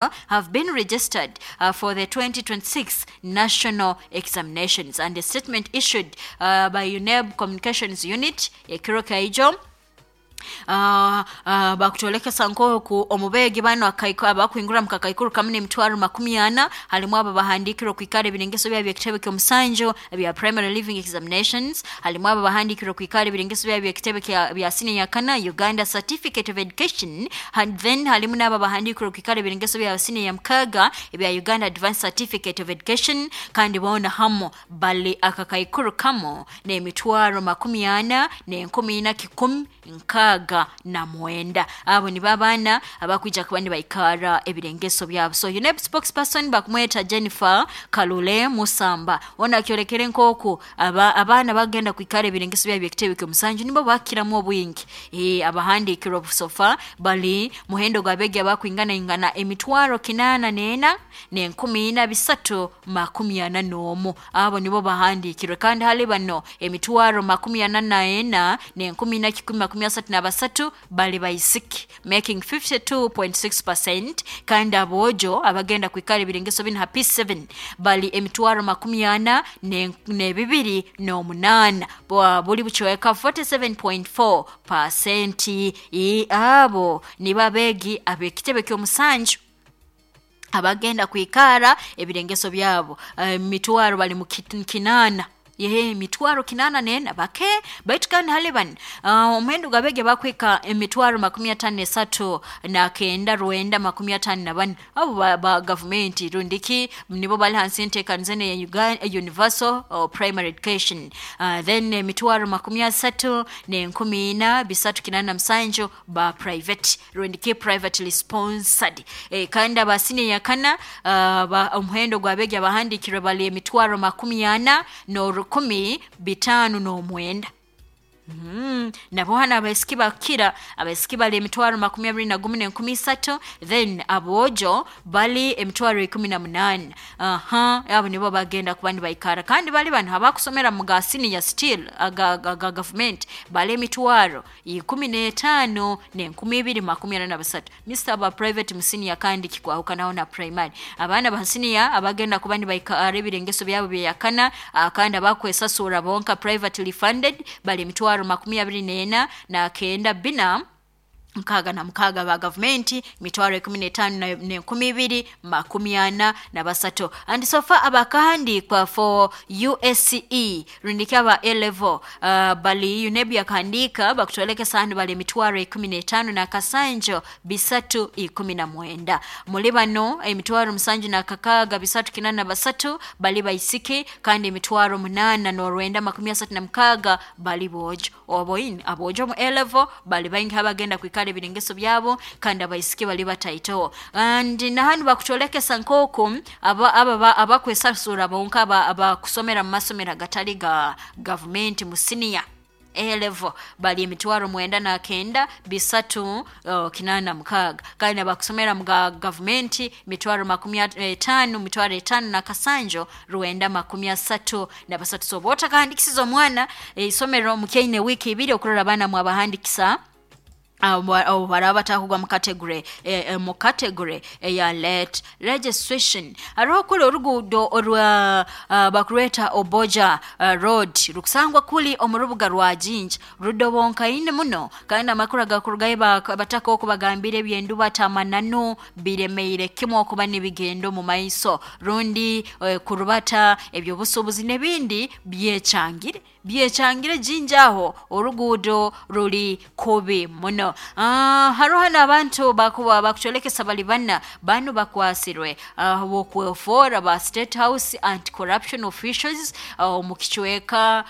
Have been registered for the 2026 national examinations. And a statement issued by UNEB Communications Unit, Ekiro Kaijo, bakutolekesa nkoku omubeegi bano abakwingura mu kakaikuru kamu n'emitwaro 40, halimu abo bahandikirwe okwikara ebirengeso byabo by'ekitebe ky'omusanju ebya primary leaving examinations, halimu abo bahandikirwe okwikara ebirengeso byabo by'ekitebe bya senior yakana, Uganda Certificate of Education, and then halimu n'abo bahandikirwe okwikara ebirengeso bya senior ya mukaaga ebya Uganda Advanced Certificate of Education. Kandi boona hamu bali akakaikuru kamu n'emitwaro 44,169. Abo nibo abaana abakwija kuba nibaikara ebirengeso byabo. So UNEB spokesperson bakumweta Jennifer Kalule Musamba, ona akyolekere nk'oku abaana bagenda kwikara ebirengeso byabo by'ekitebe ky'omusanju nibo bakiramu obwingi. Abahandiikirwe obusofa bali muhendo gw'abeegi abakwinganaingana emitwaro 804,341. Abo nibo bahandiikirwe, kandi hali bano emitwaro 44,133 bali baisiki, making 52.6%. Kandi aboojo abagenda kwikara ebirengeso binu ha P7 bali emitwaro 42,008, buli bucweka 47.4%. Abo nibo abeegi ab'ekitebe ky'omusanju abagenda kwikara ebirengeso byabo. Emitwaro bali mu kinaana, ye emitwaro 84 bake baitu. Kandi hali bano omuhendo gw'abeegi abakwika emitwaro 53,954, abo ba gavumenti rundiki nibo bali hansi y'enteekaniza enu eya universal primary education. Then emitwaro 34,387 ba private rundiki privately sponsored. Kandi aba senior yakana, omuhendo gw'abeegi abahandiikirwe bali emitwaro 41,509. Nabo hano abaisiki bakira, abaisiki bali emitwaro 21,300, then aboojo bali emitwaro 18. Aha, abo nibo bagenda kuba nibaikara. Kandi bali bano abakusomera mu ga senior still aga gavumenti bali emitwaro 15,243. Mr aba private mu senior kandi kikwahukanaho na primary. Abaana ba senior abagenda kuba nibaikara ebirengeso byabo byeyakana, kandi abakwesasura bonka, privately funded, bali emitwaro 24,966, ba gavumenti emitwaro 15,243. And so far abakahandiikwa for USCE rundiki aba A level, bali UNEB yakahandiika bakutwolekesa hanu bali emitwaro 15,319. Muli bano emitwaro 7,683 bali baisiki, kandi emitwaro 8,936 bali boojo. Oboini aboojo mu A level bali baingi abagenda kwikara ebirengeso byabo, kandi abaisiki bali bataito. And nahanu bakutolekesa nk'oku abakwesasura bonka, abakusomera mu masomero agatali ga gavumenti mu senior A level bali emitwaro 9,386, kandi abakusomera mu ga gavumenti mitwaro 50, mitwaro 5,933. So oba otakahandikisiza omwana isomero mukyaine wiiki 2 okurora abaana mwabahandikisa, abo baraba batakugwa mu category mu category eya late registration. Hariho kuli oruguudo orwa bakurweta Oboja Road, rukusangwa kuli omu rubuga rwa Jinja, rudobonkaine muno. Kandi amakuru agakurugayo, bataka okubagambira ebyenduba tamananu biremeire kimu okuba nibigenda omu maiso rundi kurubata ebyobusuubuzi n'ebindi byekyangire byekyangire Jinja aho, oruguudo ruli kubi muno. Hariho hano abantu bakuba bakukyolekesa bali bana banu bakwasirwe bokwefoora ba State House anti corruption officials omu kicweka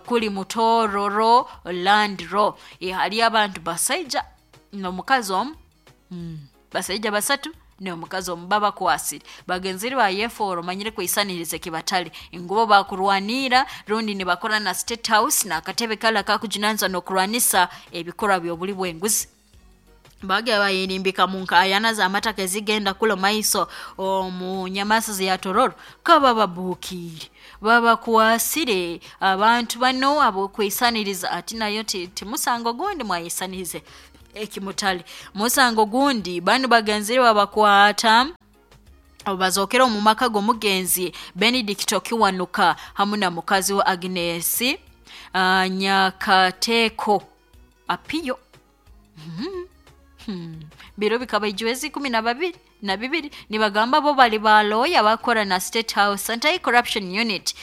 kuli Mutororo land law. Hali abantu basaija n'omukazi omu, basaija basatu n'omukazi omu babakwasire, bagenzire bayefoora omanyire kwisaniriza kibatali ngubo bakurwanira rundi nibakora na State House n'akatebe kala kakujunanizibwa n'okurwanisa ebikorwa by'obuli bw'enguzi. Bagya bayerimbika mu nkayana z'amataka ezigenda kula maiso omu nyamasa ya Tororo, kaba babukiire babakwasire abantu bano abokwisaniriza ati nayo timusango gundi mwayisanirize. Ekimutali musango gundi banu bagenzire babakwata bazokera omu maka g'omugenzi Benedict Kiwanuka hamu na mukazi wa Agnes Nyakateko Apiyo. Biro bikaba ijwezi 12 nibagamba bo bali baloya bakora na State House Anti-Corruption Unit,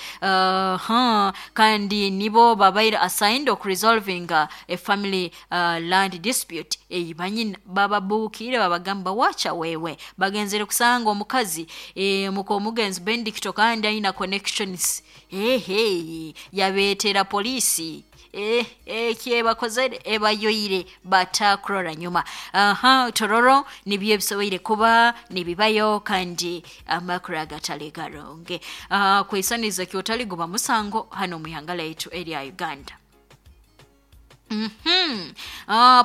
kandi nibo babaire assigned ok resolving a family land dispute. Banyina bababukire babagamba wacha wewe bagenzere kusanga omukazi muko omugenzi Benedict kandi aina connections yabetera polisi ekyebakozere ebayoire batakurora nyuma. Tororo nibyo ebisoboire kuba nibibayo kandi amakuru agatali garonge. Kweisaniza kyotali guba musango hano muihanga laitu erya Uganda.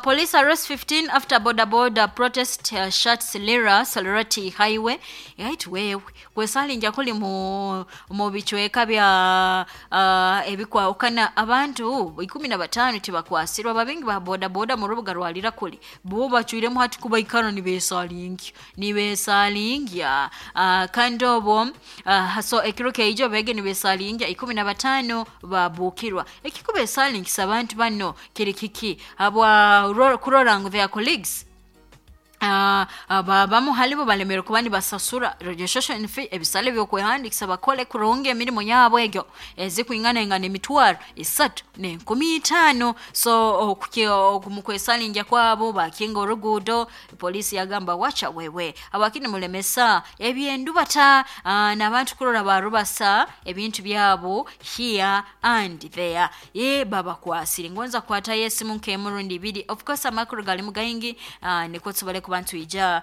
Police arrest 15 after border border protest shuts Lira Salarati Highway. Right wewe kwesalinja kuli mu bichweka bya ebikwawukana abantu 15 tibakwasirwa babingi ba boda boda mu rubuga rwalira kuli bo bachwiremu hati kuba ikano nibesalingya kandi obo so ekiro keijo bege nibesalingya 15 babukirwa ekikubesalingisa abantu bano kiri kiki habwa kurora ngu their colleagues bamu halibo balemere kuba nibasasura registration fee ebisale byokwehandikisa bakole kurungi emirimu yabo egyo ezikwingana ingana emitwaro 3,500. So mukwesalinja kwabo bakinga orugudo polisi yagamba wacha wewe abakini mulemesa ebyendu bata n'abantu kurora barubasa ebintu byabo here and there babakwasire ngonza kwata yesimu nkemurundi ibiri. Of course amakuru gali mugaingi niko tubale kubantu ija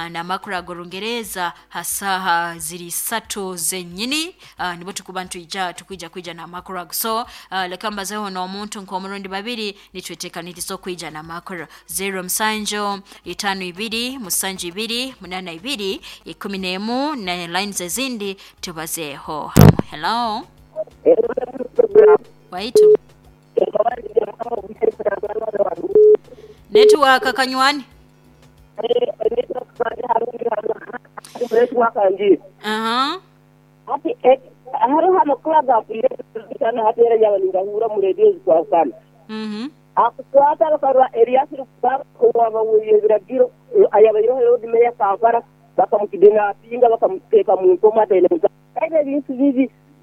na makuru agorungereza hasaha ziri 3 zenyini nibo tukubantu ija tukwija kwija na makuru ago. So leka mbazeho no omuntu nkomurundi babiri nitwetekanirizo kwija na makuru 0 musanjo 52 musanju 2 82 11 na lines ezindi tubazeho. Hello waitu network kanywani.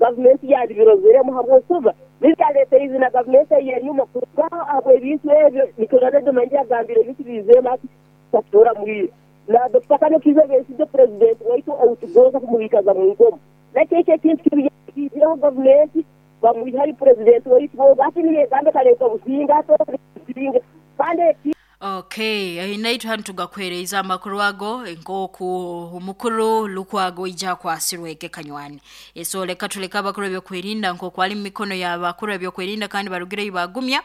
Gavumenti yabirozeremu habwokuba bikaleta izina gavumenti yenyuma kuba abo ebintu ebyo nikorana manje agambire ebintu bizema ati tatora mwire na Dr. Kano Kizza Besigye president waitu outugoza kumubikaza mu ngoma nakeke ekintu kibiraho gavumenti bamwihari president waitu bo bati niye gambe kaleta businga ato businga kandi. Okay, inaitu hanu tugakwereza amakuru ago nkoku omukuru Lukwago ija kwasirweke kanywani. So leka tuleka abakuru ebyokwerinda nkoku ali mu mikono y'abakuru ebyokwerinda kandi barugire ibagumya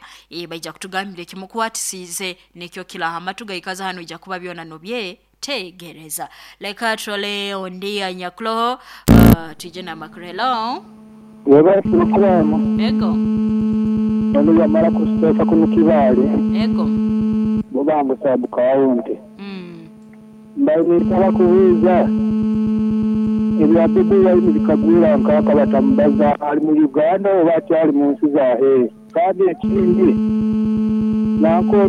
baija kutugambira ekimukwatisize nekyo kilahama tugayikaza hano ija kuba byona nobye tegereza. Leka trole ondia nyakloho tuje na makuru. Hello. Weba programu. Ego. Ono yamara kuseka kunukibale. Ego. Mubango sabu kawunti. Mbaye kubuuza ebya Bobi Wine bikagwira nkaka batambaza ali mu Uganda oba akyali mu nsi zahe. Kandi ekindi nanko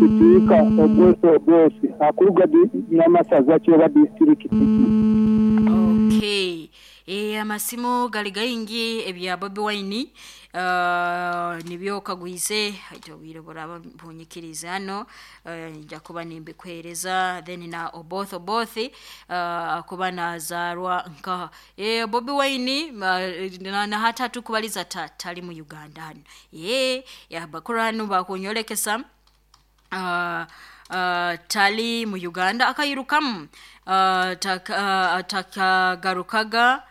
sipiika Oboth akuluga n'amasaza ki oba disitulikiti ki. Okay. Amasimu gali gaingi ebya Bobi Wine nibyo kagwize aitobwire buraba bunyikiriza hano nja kuba nimbikwereza then na Oboth kuba nazarwa nka Bobi Wine na hata tukubaliza tali mu Uganda hano ya bakuranu bakunyolekesa tali mu Uganda akayirukamu takagarukaga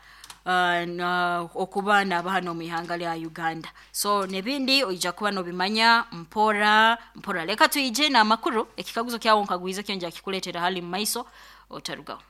okuba n'abahano mu ihanga lya Uganda. So nebindi oija kuba nobimanya mpora mpora. Leka tuije na amakuru ekikaguzo kyawo nkagwiza kyonja kikuletera hali mu maiso otarugaho.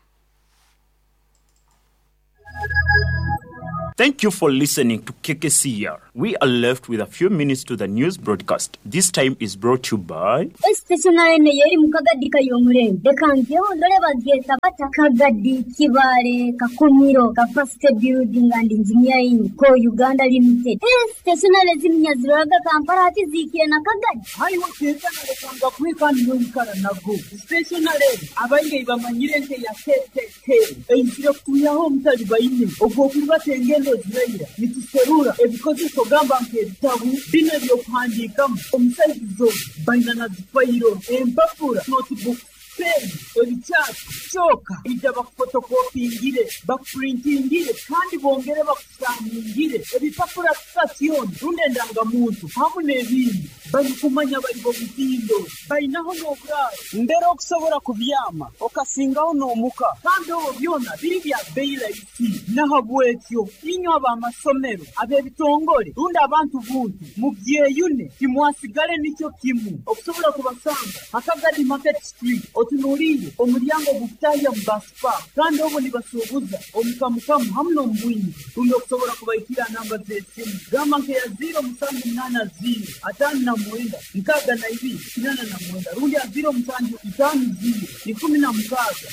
Thank you for listening to KKCR. We are left with a few minutes to the news broadcast. This time is brought to you by. Esiteesonale eno y'eri mu Kagadi Kayomurembe. Leka ngyeho ndore bagyeta bata Kagadi Kibaale Kakumiro Capacity Building and Engineering Co Uganda Limited. Esiteesonale zinu nyaziroraga Kampala hati ziikire na Kagadi. Haiwe keeta nalekanga kuhika niwe nago. Stationary abaingi bamanyire nke ya KKK eizire kutuyaho omutali baine ogw'okurubata engendo ziraira nituserura ebikozeso gamba nk'ebitabu bino ebyokuhandiikamu omusaizizo baina na zifayiro empapura notebook peni ebikyapa kyoka ija bakufotokopingire bakupurintingire kandi bongere bakusaningire ebipapura sitasioni rundi endangamuntu hamu n'ebindi barikumanya bari bomutindo bainaho n'oburaaro mbere okusobora kubyama okasingaho n'omuka kandi obwo byona biri bya bei rahisi nahabwekyo inywe ab'amasomero ab'ebitongole rundi abantu buntu mubyeyune timwasigale nikyo kimu okusobola kubasanga Akagadi Market Street otunuliire omulyango gukutahya mu basipa kandi obwo nibasuubuza omukamukamu hamu n'omubwingi rundi okusobola kubaikira namba z'esimu gamba nkeya 0780 59 62 89 rundi ya 0750 16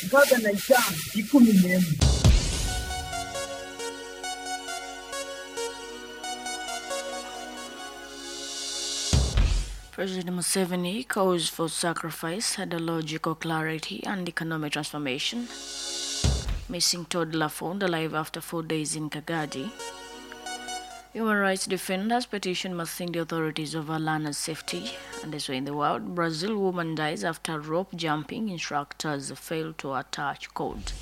65 11. President Museveni calls for sacrifice, ideological clarity, and economic transformation. Missing toddler found alive after 4 days in Kagadi. Human rights defenders petition Masindi authorities over learners' safety. And this way in the world, Brazil woman dies after rope jumping instructors fail to attach cord.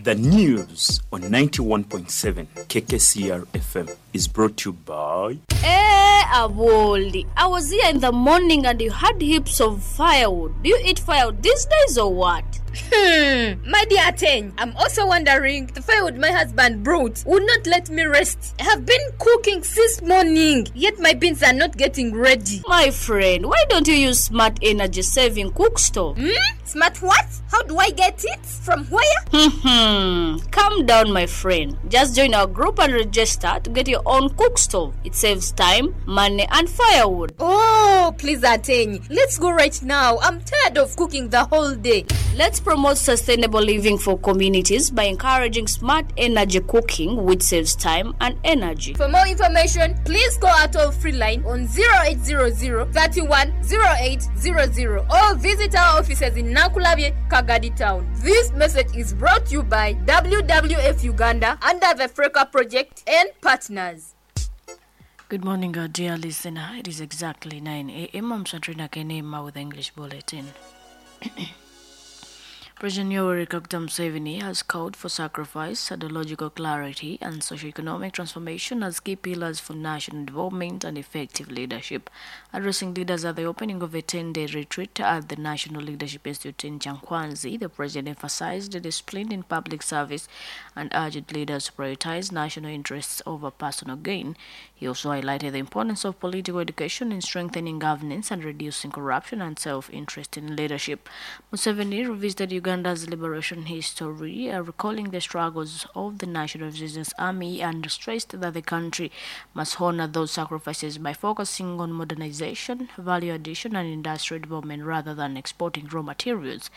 The news on 91.7 KKCR FM is brought to you by. Hey, Awoli, I was here in the morning and you had heaps of firewood. Do you eat firewood these days or what? My dear Ateng, I'm also wondering, the firewood my husband brought would not let me rest. I have been cooking since morning, yet my beans are not getting ready. My friend, why don't you use smart energy saving cook stove? Smart what? How do I get it? From where? Calm down, my friend. Just join our group and register to get your own cook stove. It saves time, money, and firewood. Oh, please, Ateng. Let's go right now. I'm tired of cooking the whole day. Let's promote sustainable living for communities by encouraging smart energy cooking, which saves time and energy. For more information, please call our toll-free line on 0800 31 0800 or visit our offices in Nakulabye, Kagadi Town. This message is brought to you by WWF Uganda under the Freka Project and partners. Good morning, dear listener. It is exactly 9 a.m. I'm Satrina Kenema with the English Bulletin. President Yoweri Kaguta Museveni has called for sacrifice, ideological clarity, and socio-economic transformation as key pillars for national development and effective leadership. Addressing leaders at the opening of a 10-day retreat at the National Leadership Institute in Kyankwanzi, the president emphasized the discipline in public service and urged leaders to prioritize national interests over personal gain. He also highlighted the importance of political education in strengthening governance and reducing corruption and self-interest in leadership. Museveni revisited Uganda's liberation history, recalling the struggles of the National Resistance Army, and stressed that the country must honor those sacrifices by focusing on modernization, value addition, and industrial development rather than exporting raw materials.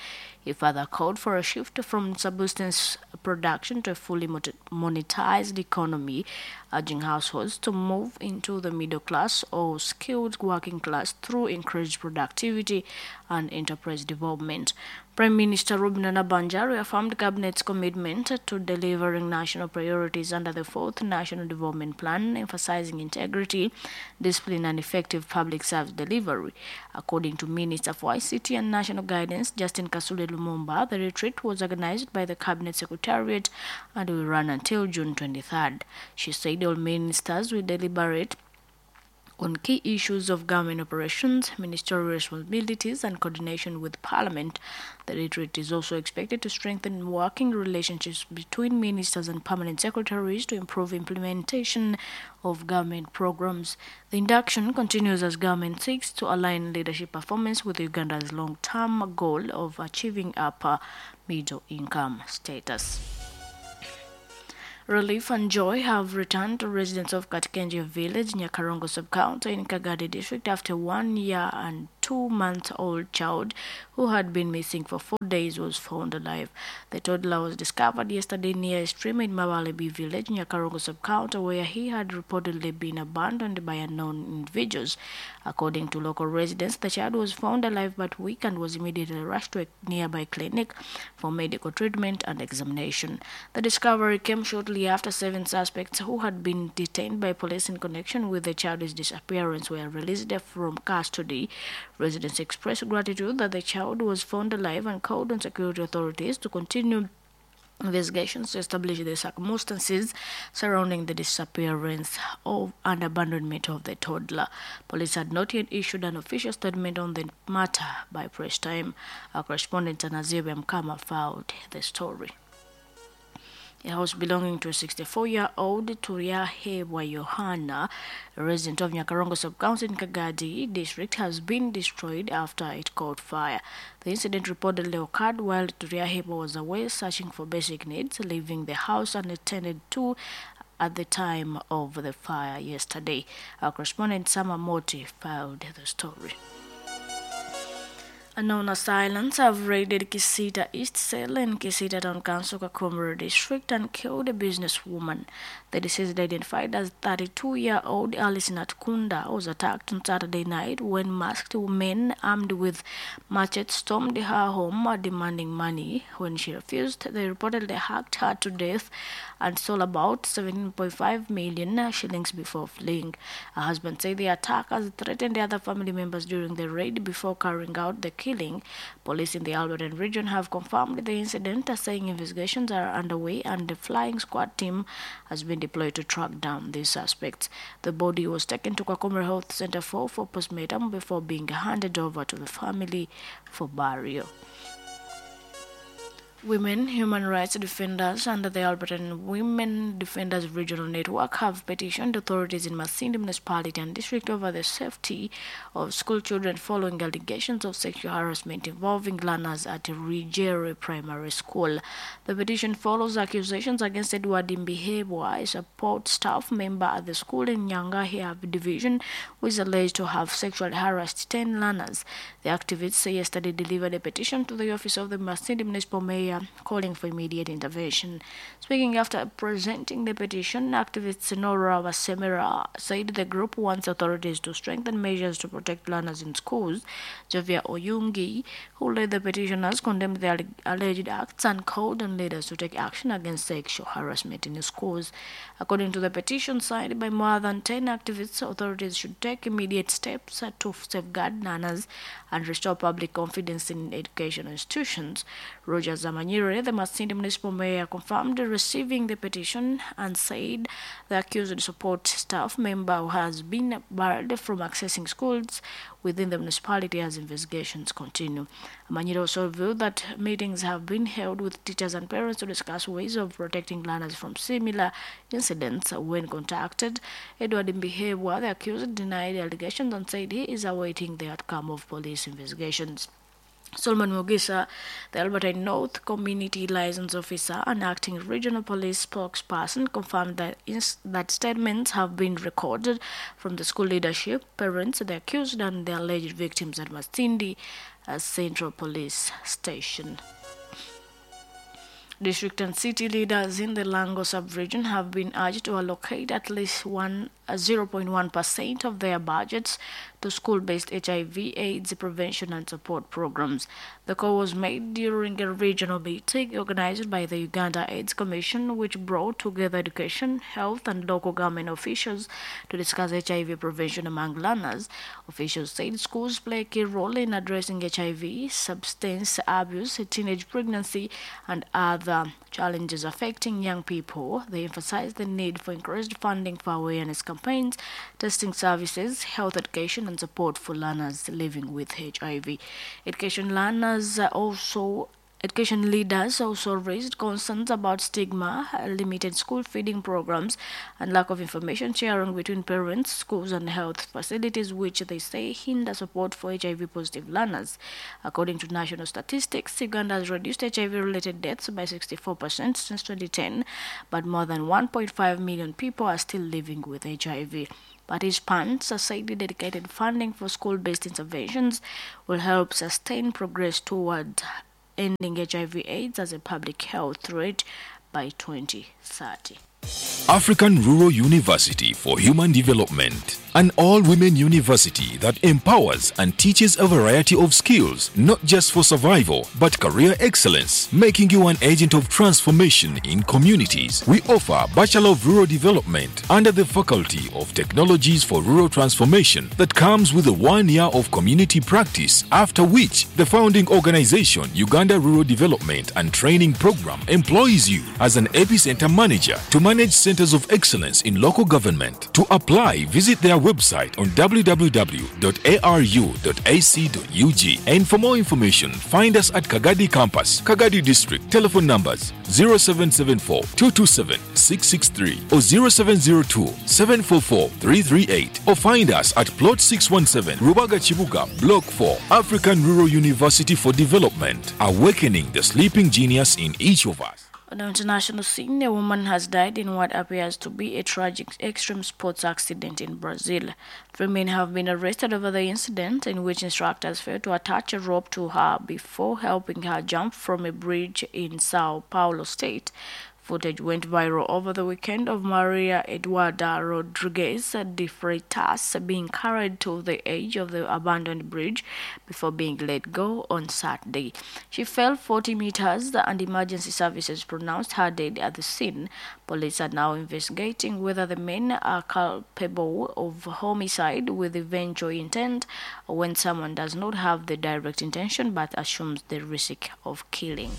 He further called for a shift from subsistence production to a fully monetized economy, urging households to move into the middle class or skilled working class through increased productivity and enterprise development. Prime Minister Robinah Nabbanja reaffirmed Cabinet's commitment to delivering national priorities under the fourth National Development Plan, emphasizing integrity, discipline, and effective public service delivery. According to Minister for ICT and National Guidance, Justin Kasule Lumumba, the retreat was organized by the Cabinet Secretariat and will run until June 23rd. She said all ministers will deliberate on key issues of government operations, ministerial responsibilities, and coordination with Parliament. The retreat is also expected to strengthen working relationships between ministers and permanent secretaries to improve implementation of government programs. The induction continues as government seeks to align leadership performance with Uganda's long-term goal of achieving upper middle income status. Relief and joy have returned to residents of Katkenje village, Nyakarongo sub-county in Kagadi district after 1 year and 2 month old child who had been missing for 4 days was found alive. The toddler was discovered yesterday near a stream in Mawalebi village, Nyakarongo sub-county, where he had reportedly been abandoned by unknown individuals. According to local residents, the child was found alive but weak and was immediately rushed to a nearby clinic for medical treatment and examination. The discovery came shortly after 7 suspects who had been detained by police in connection with the child's disappearance were released from custody. Residents expressed gratitude that the child was found alive and called on security authorities to continue investigations to establish the circumstances surrounding the disappearance of and abandonment of the toddler. Police had not yet issued an official statement on the matter by press time. Our correspondent Anazib Mkama filed the story. A house belonging to a 64-year-old Turyahebwa Yohana, a resident of Nyakarongo sub-county in Kagadi district, has been destroyed after it caught fire. The incident reportedly occurred while Turyahebwa was away searching for basic needs, leaving the house unattended to at the time of the fire yesterday. Our correspondent Sama Moti filed the story. Unknown assailants have raided Kisita East Cell in Kisita Town Council, Kakumiro District, and killed a businesswoman. The deceased, identified as 32-year-old Alice Natkunda, was attacked on Saturday night when masked men armed with machetes stormed her home demanding money. When she refused, they reportedly hacked her to death and stole about 17.5 million shillings before fleeing. Her husband said the attackers threatened the other family members during the raid before carrying out the killing. Police in the Albertine region have confirmed the incident, saying investigations are underway and the flying squad team has been deployed to track down the suspects. The body was taken to Kakumiro Health Center 4 for postmortem before being handed over to the family for burial. Women human rights defenders under the Albertine Women Defenders Regional Network have petitioned authorities in Masindi Municipality and District over the safety of school children following allegations of sexual harassment involving learners at Rigere Primary School. The petition follows accusations against Edward Mbihebwa, a support staff member at the school in Nyangahia Division, who is alleged to have sexually harassed 10 learners. The activists yesterday delivered a petition to the office of the Masindi Municipal Mayor calling for immediate intervention. Speaking after presenting the petition, activist Nora Wasemera said the group wants authorities to strengthen measures to protect learners in schools. Javier Oyungi, who led the petitioners, condemned the alleged acts and called on leaders to take action against sexual harassment in schools. According to the petition signed by more than 10 activists, authorities should take immediate steps to safeguard learners and restore public confidence in educational institutions. Roger Zamanyire, the Masindi Municipal Mayor, confirmed receiving the petition and said the accused support staff member who has been barred from accessing schools within the municipality as investigations continue. Amanyire also revealed that meetings have been held with teachers and parents to discuss ways of protecting learners from similar incidents. When contacted, Edward Mbihebwa, the accused, denied the allegations and said he is awaiting the outcome of police investigations. Solomon Mugisa, the Albertine North Community Liaison Officer and acting regional police spokesperson, confirmed that that statements have been recorded from the school leadership, parents, the accused, and the alleged victims at Masindi Central Police Station. District and city leaders in the Lango sub-region have been urged to allocate at least 0.1% of their budgets to school-based HIV/AIDS prevention and support programs. The call was made during a regional meeting organized by the Uganda AIDS Commission, which brought together education, health, and local government officials to discuss HIV prevention among learners. Officials said schools play a key role in addressing HIV, substance abuse, teenage pregnancy, and other challenges affecting young people. They emphasized the need for increased funding for awareness campaigns, testing services, health education, and support for learners living with HIV. Education learners also Education leaders also raised concerns about stigma, limited school feeding programs, and lack of information sharing between parents, schools, and health facilities, which they say hinder support for HIV positive learners. According to national statistics, Uganda has reduced HIV related deaths by 64% since 2010, but more than 1.5 million people are still living with HIV. Participants said the dedicated funding for school based interventions will help sustain progress toward ending HIV/AIDS as a public health threat by 2030. African Rural University for Human Development, an all women university that empowers and teaches a variety of skills, not just for survival, but career excellence, making you an agent of transformation in communities. We offer Bachelor of Rural Development under the Faculty of Technologies for Rural Transformation that comes with a 1 year of community practice, after which the founding organization, Uganda Rural Development and Training Program, employs you as an epicenter manager to manage centers of excellence in local government. To apply, visit their website on www.aru.ac.ug. And for more information, find us at Kagadi Campus, Kagadi District. Telephone numbers 0774 227 663 or 0702 744 338. Or find us at Plot 617, Rubaga Chibuga, Block 4, African Rural University for Development, awakening the sleeping genius in each of us. On the international scene, a woman has died in what appears to be a tragic extreme sports accident in Brazil. Three men have been arrested over the incident, in which instructors failed to attach a rope to her before helping her jump from a bridge in Sao Paulo state. Footage went viral over the weekend of Maria Eduarda Rodriguez de Freitas being carried to the edge of the abandoned bridge before being let go on Saturday. She fell 40 meters and emergency services pronounced her dead at the scene. Police are now investigating whether the men are culpable of homicide with eventual intent or when someone does not have the direct intention but assumes the risk of killing.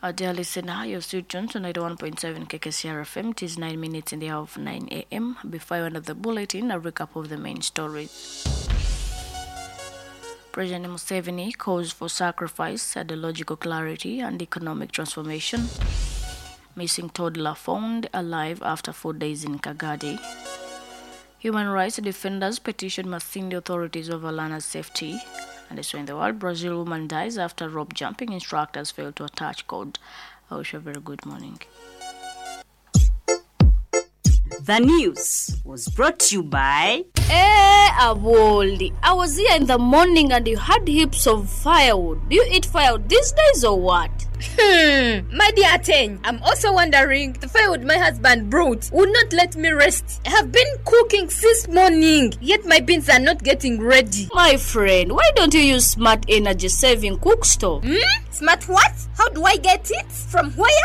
Our dear listener, you're still tuned to 91.7 KKCR FM. It is 9 minutes in the hour of 9 a.m. Before I end of the bulletin, a recap of the main stories. President Museveni calls for sacrifice, ideological clarity, and economic transformation. Missing toddler found alive after 4 days in Kagadi. Human rights defenders petition Masindi authorities over learners' safety. And also in the world, Brazil woman dies after rope jumping instructors fail to attach cord. I wish you a very good morning. The news was brought to you by Eh, Awoli, I was here in the morning and you had heaps of firewood. Do you eat firewood these days or what? My dear Ten, I'm also wondering, the firewood my husband brought would not let me rest. I have been cooking since morning, yet my beans are not getting ready. My friend, why don't you use smart energy saving cook stove? Smart what? How do I get it? From where?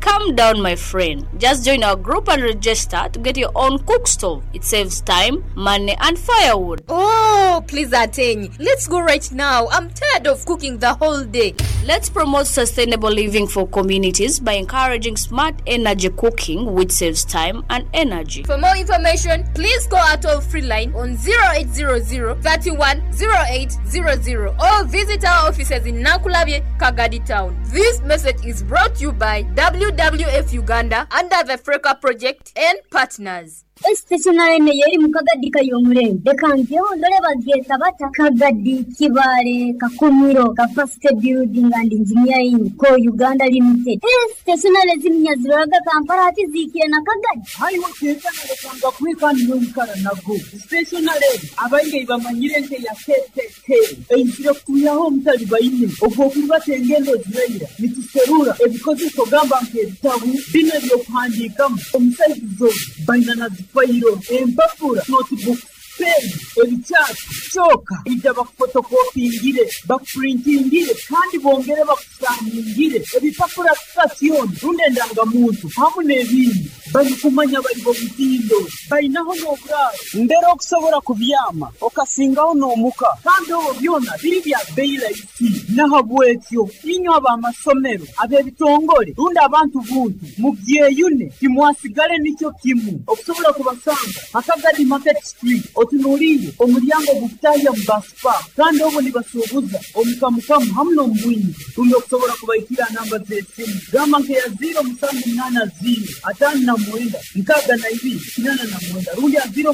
Calm down, my friend. Just join our group and register to get your own cook stove. It saves time, money, and firewood. Oh, please, Ateng. Let's go right now. I'm tired of cooking the whole day. Let's promote sustainable living for communities by encouraging smart energy cooking, which saves time and energy. For more information, please call our toll free line on 0800 31 0800 or visit our offices in Nakulabye, Kagadi Town. This message is brought to you by WWF Uganda under the Freka Project and partners. Stationary yeri mu Kagadi kay'omurembe reka ngeho ndore bagyeta bata Kagadi Kibaale Kakumiro Capacity Building and Engineering Co Uganda Limited. Stationary ziminya ziroraga Kampala hati ziikire na Kagadi. Haiwe kekanalekanga kwikani noikara nago stationary abaingi bamanyire nke ya KKK eizire kutuyaho omutali baine ogw'okuribata engendo ziraira nituserura ebikozeso gamba nk'ebitabu bino ebyokuhandiikamu omusaizizo baina na zifayiro empapura notebook, pen, ebikyasi kyoka ija bakufotokopingire, bakupurintingire kandi bongere bakusaningire ebipapura sitasioni rundi endangamuntu hamu n'ebindi. Barikumanya bari b'omutindo, bainaho n'oburaaro mbere okusobora kubyama okasingaho n'omuka kandi obwo byona biri bya bei rahisi. Nahabwekyo inywe ab'amasomero, ab'ebitongore rundi abantu buntu mugyeyune timwasigale nikyo kimu. Okusobora kubasanga ha Kagadi Market Street otunuliire omulyango ogukutahya mu Bus Park kandi obwo nibasuubuza omu kamukamu hamu n'omu bwingi. Rundi okusobora kubahikira ha namba z'esimu gamba nk'eya 0 7 0 59 62 89 rundi ha 0 7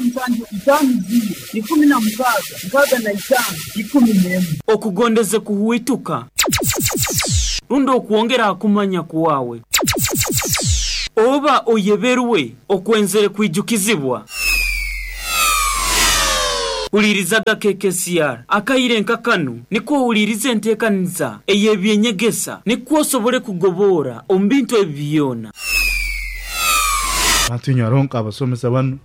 5 0 16 65 11. Okugondeze kuhwituka rundi okwongera ha kumanya kwawe, oba oyeberwe okwenzere kwijukizibwa? Huliirizaga KKCR akaire nka kanu nikwo ohuliirize enteekaniza ey'eby'enyegesa nikwo osobole kugoboora omu bintu ebi byona. Bantu inywe haroho nk'abasomesa banu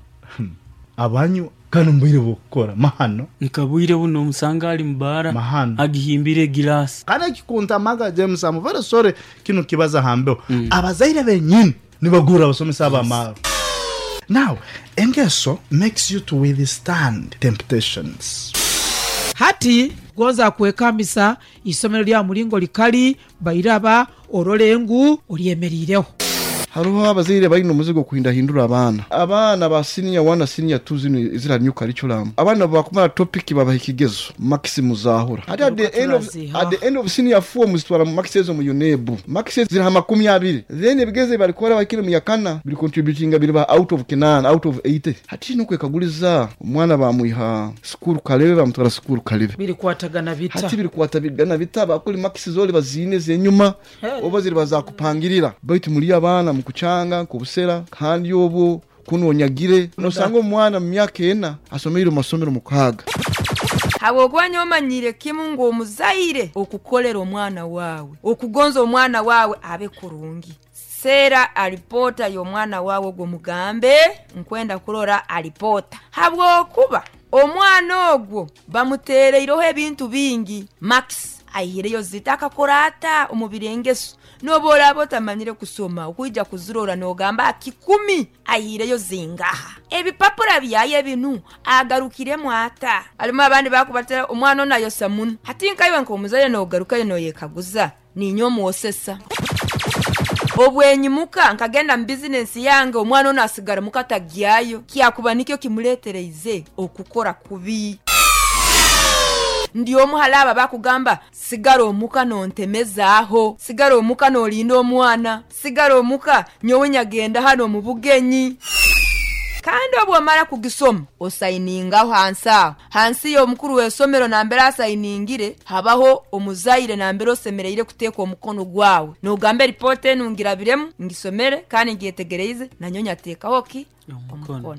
abanywa kandi omu bwire bw'okukora mahano. Nka bwire buno omusanga ali mu baara Mahano. agihimbire egiraasi. Kandi ekikuntamaga James, I'm very sorry kinu kibaza ha mbeho. Abazaire benyini nibagurra abasomesa abo amaarwa. Now, engeso makes you to withstand temptations. Hati gonza kwekambisa isomero lya mulingo likali bairaba orole ngu olyemeriireho. Haroho abazaire baine omuzigo okuhindahindura abaana. Abaana ba siniya wani na siniya tu zinu eziri ha new curriculum, abaana obu bakumara topiki babaha ekigezo, makisi muzaahura. Hati at the end of, at the end of siniya four muzitwara makisi ezo mu UNEB. Makisi ziri ha 20. Then ebigezo ebi barikukora bahikire mu yakana biri contributinga biriba out of kinaana, out of 80. Hati kiine okwekaguliza, omwana bamwiha sukuru Kalebe bamutwara sukuru Kalebe. Birikwatagana bita? Hati birikwatagana bita? Bakuli makisi zoli baziine ez'enyuma oba ziriba zakupangirira. Baitu muli abaana mukukyanga nk'obusera kandi obwo kunu onyagire. Nosanga omwana mu myaka ena asomeire omu masomero mukaaga. Habwokuba nyowe manyiire kimu ngu omuzaire okukolera omwana waawe, okugonza omwana waawe abe kurungi. Seera alipoota y'omwana waawe ogwo omugambe, Nkwenda kurora alipoota. Habwokuba omwana ogwo bamuteereireho ebintu bingi. Max aihireyo zita akakora ata omu birengeso? N'obu oraaba otamanyire kusoma, okwija kuzirora noogamba aha kikumi aihireyo zingaha? Ebipapura byaye binu agarukiremu ata? Harimu abandi bakubatera omwana onu ayosa muno. Hati nkaiwe nk'omuzaire noogarukayo nooyekaguza, Niinye omwosesa. Obwenyimuka nkagenda mu bizinensi yange, omwana onu asigara muka tagyayo. Kyakuba nikyo kimuleetereize okukora kubi. Ndi omu hali abo abakugamba, Sigara omuka nontemezaaho. Sigara omuka nolinda omwana. Sigara omuka nyowe nyagenda hanu omu bugenyi. Kandi obu omara kugisoma, osainingaho hansi aho. Hansi y'omukuru w'esomero nambere asainingire, habaho omuzaire nambere osemereire kuteeka omukono gwawe. Nogamba eripoota enu ngirabiremu, ngisomere kandi ngyetegereize, nanyowe nyateekaho ki? Omukono.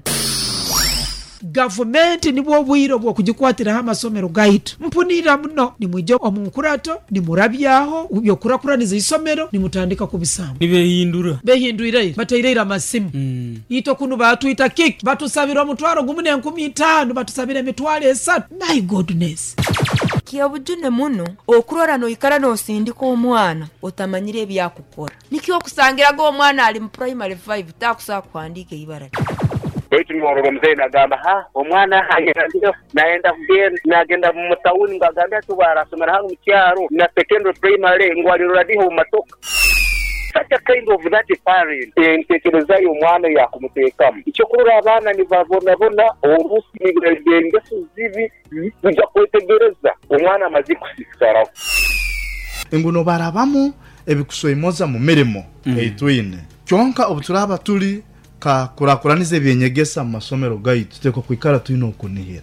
Gavumenti nibwo obwire obw'okugikwatiraho amasomero gaitu. Mpunirira muno nimwija omu nkurato, nimurabyaho by'okukurakuraniza eisomero, nimutandika kubisamba. Nibehindura. Behindwire ira, bataire ira amasimu. Itwe kunu baatwita kiki? Batusabire omutwaro gumu n'enkumi itaano, batusabire emitwaro esatu. My goodness! Ky'obujune muno okurora noikara nosindika omwana otamanyire ebi akukora. Nikyo okusangiraga omwana ali mu primary five takusobola kuhandiika eibara lye. Baitu norora omuzaire nagamba, Ha, omwana ayerandireho nayenda kugenda, nagenda mu tawuni ngu agambe ati obu arasomera hanu mu kyaro na secondary primary ngu alirora diha omu matoka. Such a kind of that parent, entekereza y'omwana eyakumuteekamu. Ekyokurora abaana nibabonabona orusi engeso zibi Twija kwetegereza omwana amaze kusisikaraho. Ngu nobarabamu ebikusoimoza mu mirimo ei twine. Kyonka obu turaaba turi ka kurakuraniza eby'enyegesa mu masomero gaitu, tuteekwa kwikara twine okunihira.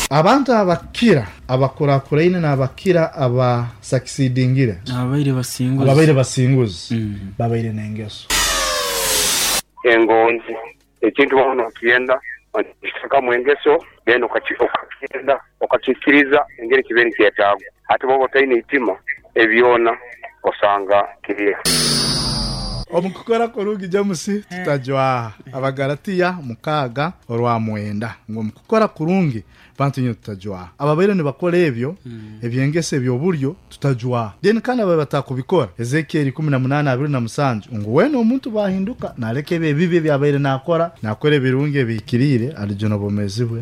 Abantu abakira abakurakuraine n'abakira abasakisidingire, Ababaire basinguzi. ababaire basinguzi, babaire n'engeso. Engonzi. Ekintu waaba nokyenda, okiteekamu engeso, then okakyenda, okakiikiriza engeri kibaire nikyetaagwa. Hati bw'oba otaine itima, ebyo byona osanga kiriho. Omu kukora kurungi James tutajwaha. Abagalatiya mukaaga orwa mwenda ngu omu kukora kurungi. Bantu nyowe tutajwaha. Ababaire nibakora ebyo, ebyengeso eby'obulyo, tutajwaha. Then kandi ababaire batakubikora, Ezekieri 18:27 ngu weena omuntu bwahinduka naleka ebyo ebibi ebi abaire nakora, nakora ebirungi ebihikiriire, alijuna obwomeezi bwe.